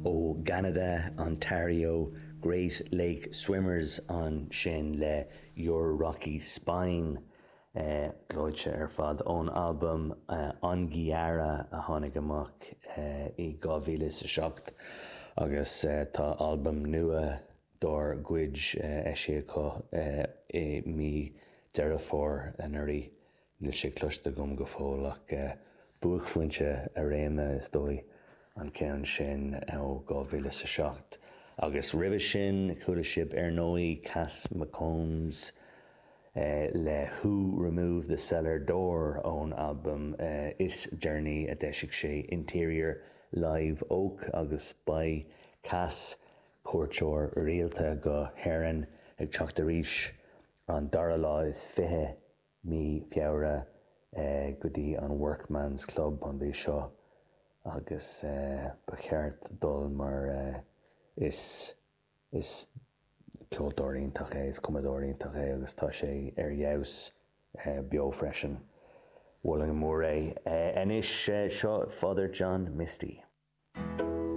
Ó gCeanada, Ontario, Great Lake Swimmers ansin le Your Rocky Spine. Gleoite ar fad ón albam Onguiaahra a tháinig amach i 2007 agus tá albam nua dár gcuid eisithe acu i mí Deireadh Fómhair anuraidh. Níl sé cloiste agam go fóill ach buaicphointe a réime, is dóigh, an ceann sin ó 2007. Agus roimhe sin, chuala sibh ar ndóigh Cass McCombs le Who Removed the Cellar Door ón albam is deireanaí a d'eisigh sé, Interior Live Oak agus beidh Cass, cuairteoir rialta go hÉirinn, ag teacht arís an dara lá is 20 mí Feabhra go dtí an Workman's Club an mhí seo agus ba cheart dul mar is is ceoltóir iontach é, is cumadóir iontach é agus tá sé ar fheabhas beo freisin. Mholfainn go mór é. Anois seo Father John Misty.